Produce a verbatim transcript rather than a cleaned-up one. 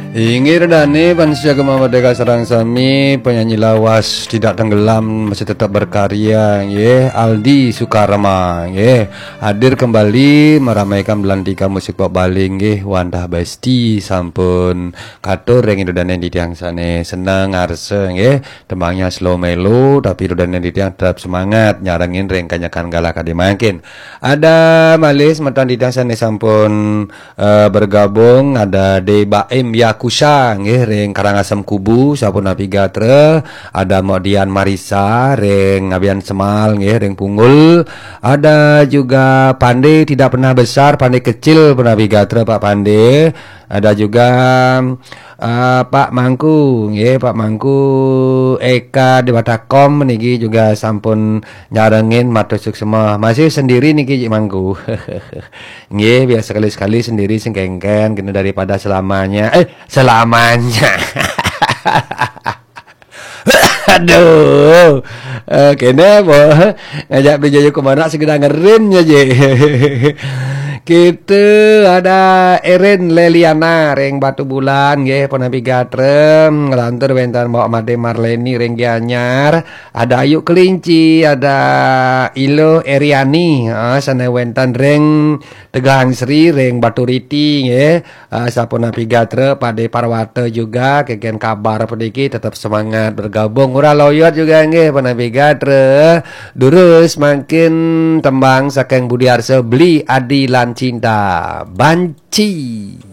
Inggih ida dané, pansia Gema Merdeka sareng sami, penyanyi lawas tidak tenggelam, masih tetap berkarya, nggih, Aldi Sukarma, nggih. Hadir kembali meramaikan belantika musik pop Bali, nggih, wantah Besti sampun katur ring ida dané titiang sané seneng ngarsa, nggih. Tembangnya slow mellow, tapi ida dané titiang tetap semangat nyarengin ring kanyakan galah kadi mangkin. Ada malih semeton titiang sané sampun eh, bergabung, ada De Baim Yakusha nggih ring Karangasem Kubu, sapunapi gatra, ada Mok Dian Marisa ring Abian Semal nggih ring Punggul, ada juga Pande tidak pernah besar, Pande kecil punapi gatra Pak Pande, ada juga eh, Pak Mangku nggih, Pak Mangku Eka Dewata Kom niki juga sampun nyarengin, matur suksma. Masih sendiri niki Cik Mangku. Nggih, biar sekali-sekali sendiri sing kengken kena daripada selamanya. Eh, selamanya. Aduh. Eh, kene boh ngajak beli jayu kemana segedang ngerin aja. Kita ada Erin Leliana ring Batu Bulan nggih, punapi gatra, nglantur wénten Mbok Made Marleni ring Gianyar, ada Ayu Kelinci, ada Ilo Eriani, ha, sané wénten ring Tegahan Sri ring Baturiti nggih. Ah, sapunapi gatra, Pade Parwata juga, kengken kabar puniki, tetap semangat bergabung. Ora loyot juga nggih, punapi gatra. Durus mangkin tembang saking Budi Arsa, Beli Adi lan Cinta. Banci.